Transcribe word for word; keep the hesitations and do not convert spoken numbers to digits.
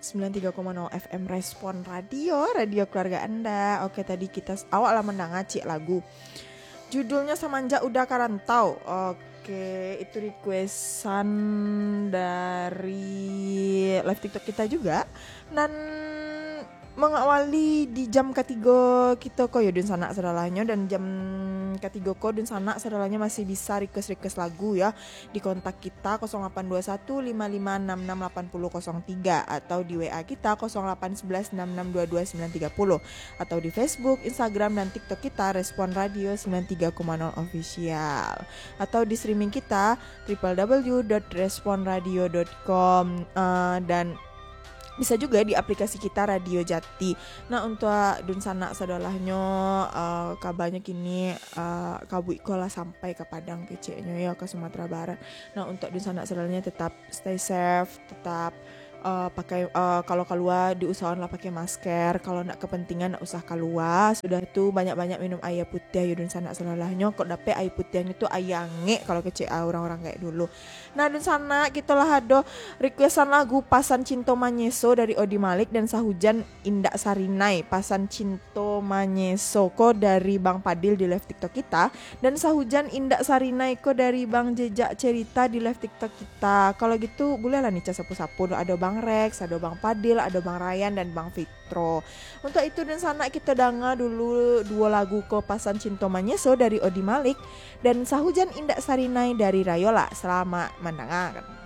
sembilan tiga koma nol F M Respon Radio, radio keluarga Anda. Oke, tadi kita s-, awak lah mandanga ciek lagu. Judulnya Samanjak Uda Ka Rantau. Oke, itu requestan dari live TikTok kita juga. Dan mengawali di jam katigo kito ko yo, dunsanak sadolahnyo, dan jam katigo ko dunsanak sadolahnyo masih bisa request-request lagu ya, di kontak kita kosong lapan dua satu lima lima enam enam lapan puluh kosong tiga atau di W A kita kosong lapan sebelas enam enam dua dua sembilan tiga puluh, atau di Facebook, Instagram, dan TikTok kita Respon Radio sembilan tiga koma nol Official, atau di streaming kita triple W dot respon radio dot com, eh, dan bisa juga di aplikasi kita Radio Jati. Nah, untuak dunsanak sadolahnyo, eh, kabanyo kini, eh, kabuik ko lah sampai ka Padang keceknyo yo, ka Sumatera Barat. Nah, untuak dunsanak sadolahnyo tetap stay safe, tetap, eh, pakai, eh, kalau kalua diusahoanlah pakai masker, kalau ndak kepentingan ndak usah kalua. Sudah tu banyak-banyak minum aia putiah yo dunsanak sadolahnyo. Kok dapek aia putiahnyo tu aia angek kalau kecek, ah, urang-urang gaek dulu. Nah, dunsanak, kito lah ado requestan lagu Pasan Cinto Manyeso dari Odi Malik dan Sahujan Indak Sarinai. Pasan Cinto Manyeso ko dari Bang Padil di live TikTok kita, dan Sahujan Indak Sarinai ko dari Bang Jejak Cerita di live TikTok kita. Kalau gitu, buliahlah nih sapo-sapo. Ado Bang Rex, ado Bang Padil, ado Bang Ryan, dan Bang Fitro. Untuak itu, dunsanak, kito danga dulu duo lagu ko, Pasan Cinto Manyeso dari Odi Malik dan Sahujan Indak Sarinai dari Rayola. Salamaik mandangakan.